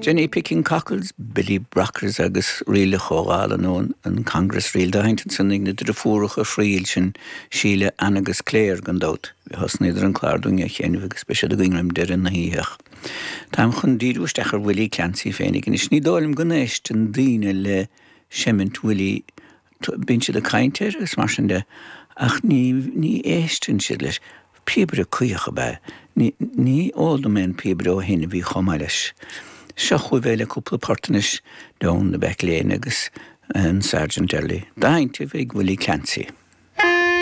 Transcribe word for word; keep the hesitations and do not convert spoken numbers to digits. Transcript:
Jenny Picking Cockles, Billy Brockers agus ríle chóála nó an Congress Reel dá sheinnt ansan ag na deirfiúracha Friel sin Síle Ann agus Claire gan dabht. Thosnaíodar an clár dúinn a sheinm agus beidh siad againn roim deireadh na hoíche. Táim chun díriú isteach ar Willie Clancy féinig anois ní dóigh liom go n-éisteann daoine le seimint Willie bíonn siad ag caint air agus mar sin de ach ní ní éisteann siad leis. Píobaire cuíoch ab ea. Ní ní eol dom aon píobaire ó shin a bhí chomh maith leis. Seo chugaibh é le cúpla port anois Down the Back Lane agus an Sergeant Early. Dá sheinnt ag Willie Clancy.